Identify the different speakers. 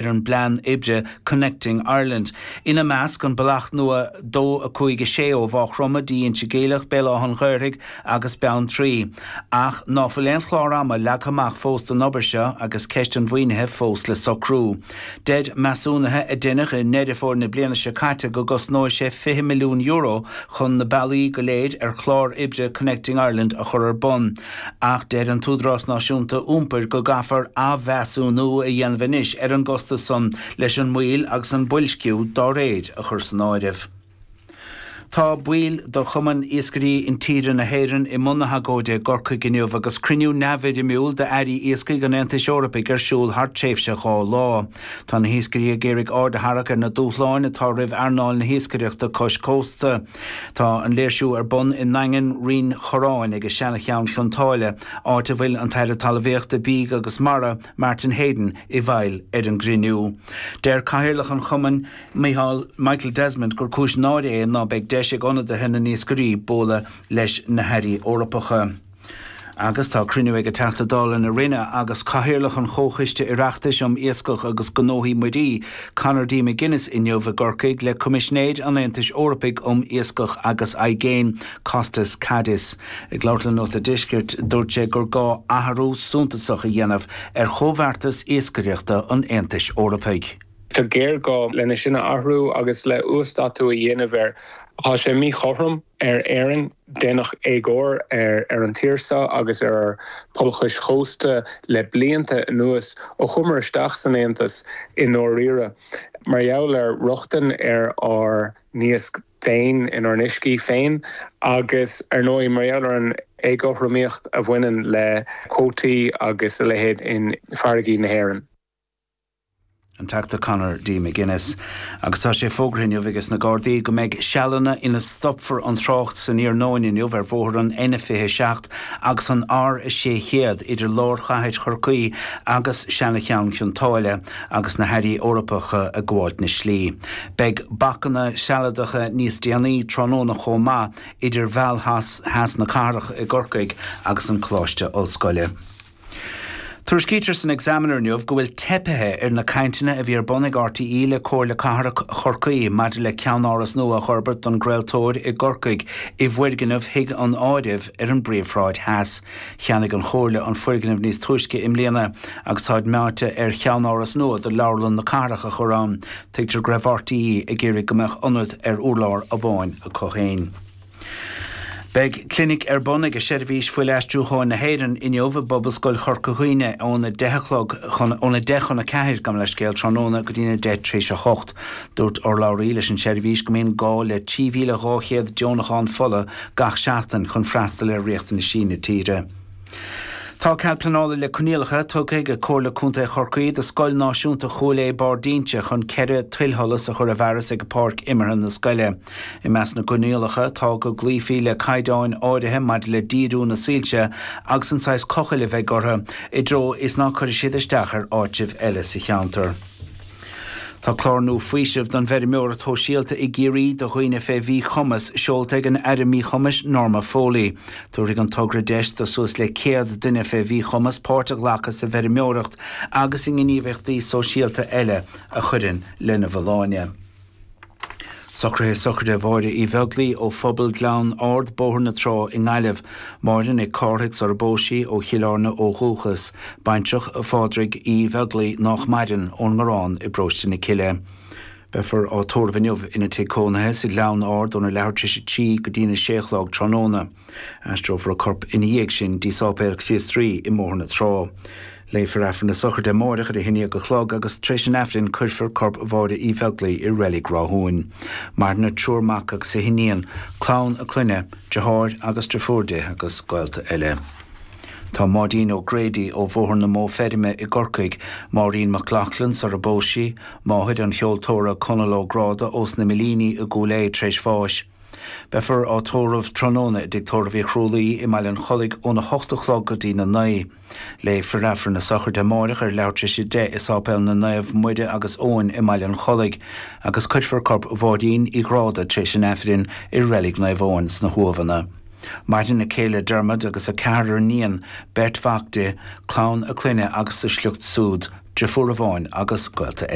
Speaker 1: Ar an bplean oibre Connecting Ireland. Ina measc, an bealach nua 2, 5, 6 ó Mhaigh Chromtha dtí Inse Geimhleach, Béal Átha an Ghaorthaidh agus Beanntraí. Ach ná fuil aon chlár ama leagtha amach fós don obair seo agus ceist an mhaoinithe fós le socrú. Deir measúnuithe a deineadh i nDeireadh Fómhair na bliana seo caite go gcosnóidh sé €20 milliún chun na bealaí go léir ar chlár oibre Connecting Ireland a chur ar bun. Ach deir an tÚdarás Náisiúnta Iompair go gcaithfear athmheasúnú a dhéanamh anois ar an gcostas san leis an moill agus an boilsciú dá réir a chur san áireamh. Tá baill de Chumann Iascairí Intíre na hÉireann i mbun na hagóide i gCorcaigh inniu agus cruinniú neamhfhoirmiúil d'airí iascaigh an Aontais Eorpaigh ar siúl thar tréimhse 2 lá. Tá na hiascairí ag iarraidh aird a tharrac ar na dúshláin atá roimh earnáil na hiascaireachta cois cósta. Tá an léirsiú ar bun i nDaingean Rinn Chorráin ag Seana-Cheann Chionn tSáile, áit a bhfuil an tAire Talmhaíochta, Bídh agus Mara, Martin Heydon, i bhfeighil ar an gcruinniú. Deir Cathaoirleach an chumainn, Micheál Michael Desmond, gur cúis náire é ná beidh deis ag ionadaithe na n-iascairí bualadh leis na hairí Eorpacha. Agus tá cruinniú ag an Teachta Dála na Rinne agus Cathaoirleach an Chomhchoiste Oireachtais um Iascach agus Gnóthaí Muirí, Conor D. McGuinness inniu i gCorcaigh le Coimisinéir an Aontais Eorpaigh um Iascach agus Aigéin, Costas Kadis. Ag labhairt le Nuacht a' Deiscirt, dúirt sé gur gá athrú suntasach a dhéanamh ar chomhbheartas iascaireachta an Aontais Eorpaigh.
Speaker 2: Tá géarghá lena sin a athrú agus le uasdátú a dhéanamh air. Tá sé míchothrom. ar Éirinn. Déanadh éagóir ar an tír seo agus ar ár bpobail chois chósta le blianta anuas, ó chuamar isteach san Aontas i ndáiríre, mar gheall ar rochtain ar ár n-iasc féin inár n-uiscí féin agus, ar ndóigh, mar gheall ar an éagothromaíocht a bhaineann le cuótaí agus a leithéid in farraigí na hÉireann.
Speaker 1: An Teachta Conor D. McGuinness. Agus tá sé fógartha inniu ages na Gardaí go mbeidh sealanna ina stopfar an trácht san iarnóin inniu ar bhóthar an N27 agus an R600 idir lár chathair Chorcaí agus Seana-Cheann Chionn tSáile agus na hairí Eorpacha ag gabháilt na slí. Beidh bacanna sealadacha níos déanaí tráthnóna chomh maith idir Mheal Theas na Cathrach i gCorcaigh agus an Coláiste Ollscoile. Tuairiscítear san Examiner inniu go bhfuil teipithe ar na cainteanna a bhí ar bun ag RTÉ le Comhairle Cathrach Chorcaí maidir le ceannáras nua a fhorbairt don gcraoltóir i gCorcaigh i bhfoirgneamh Thigh an Áirimh ar an bPríomhshráid Theas. Cheannaigh an Chomhairle an foirgneamh níos túisce i mbliana agus táid meáite ar cheannáras nua do Leabharlann na Cathrach a chur ann. Tuigtear go raibh RTÉ ag iarraidh go mbeadh ionad ar urlár amháin acu féin. Beidh clinic ar bun ag Seirbhís Fuil-Aistriúcháin na hÉireann inniu i bPobalscoil Chorca Dhuibhne óna 10 a chlog chun óna 10 chun 4, gabh mo leithscéal, tráthnóna go dtína 10 tar éis 8. Dúirt urlabhraí leis an tseirbhís go mbíonn gá le 3,200 deonachán fola gach seachtain chun freastal ar riachtanaisí na tíre. Tá cead pleanála le coinníollacha tugtha ag Comhairle Contae Chorcaí do Scoil Náisiúnta Chúil Aodha Barr d'Inse chun 4 tuilsholas a chur i bhfearas ag páirc imeartha na scoile. I measc na gcoinníollacha tá go gcloífí le caighdeáin áirithe maidir le díriú na soilse agus an saghas cochaill a bheidh orthu, i dtreo is ná cuirfidh siad isteach ar áitribh eile sa cheantar. Tá clár nua faoisimh don bhfeirmeoireacht shóisialta i gCiarraí do dhaoine fé mhíchumas seolta ag an Aire Míchumais Norma Foley. Tabharfaidh an togra deis do suas le 100 duine fé mhíchumas páirt a ghlacadh sa bhfeirmeoireacht agus i ngníomhaíochtaí sóisialta eile a chuireann lena bhfolláine. Socruithe sochraide Mháire Uí Bheaglaoi ó Phobal Ghleann Ard, Bóthar na Trá i nGaillimh. Máire Nic Cárthaigh sar a bpós sí, ó Chill Airne ó dhúchas. Baintreach Phádraig Uí Bheaglaoi, nách maireann, ón nGarrán i bParóiste na Cille. Beifear á tórramh inniu ina tigh cónaithe sa Ghleann Ard óna leathuair tar éis a 3 go dtína sé a chlog tráthnóna. Aistreofar a corp ina dhiaidh sin dtí Sáipéal Chríost Rí i mBóthar na Trá. Léifear Aifreann na sochraide amáireach ar a haon déag a chlog agus tar éis an Aifrinn cuirfear corp Mháire Uí Bheaglaoi i Reilig Ráthúin. Maireann a triúr mac agus a hiníon, clann a clainne, deartháir agus deirfiúr di agus gaolta eile. Tá Máidín O'Grady ó Bhóthar na Mó Feirme i gCorcaigh, Máirín McLaughlin sar a bpós sí, máthair an cheoltóra Conall Ó Gráda ós na Millíní i gCúil Aodha tar éis bháis. Beifear á tórramh tráthnóna i dTigh Tórraimh Uí Chrualaoi i mBaile an Chollaigh óna hocht a chlog go dtína naoi. Léifear Aifreann na sochraide amáireach ar leathuair tar éis a 10 i Sáipéal na Naomh Muire agus Eoin i mBaile an Chollaigh agus cuirfear corp Mháirín Uí Ghráda tar éis an Aifrinn i Reilig Naomh Eoin sna hUamhanna. Maireann a céile Dermot agus a ceathrar iníon, beirt mhac di, clann a clainne agus a sliocht súd. Deirfiúr amháin agus gaolta eile.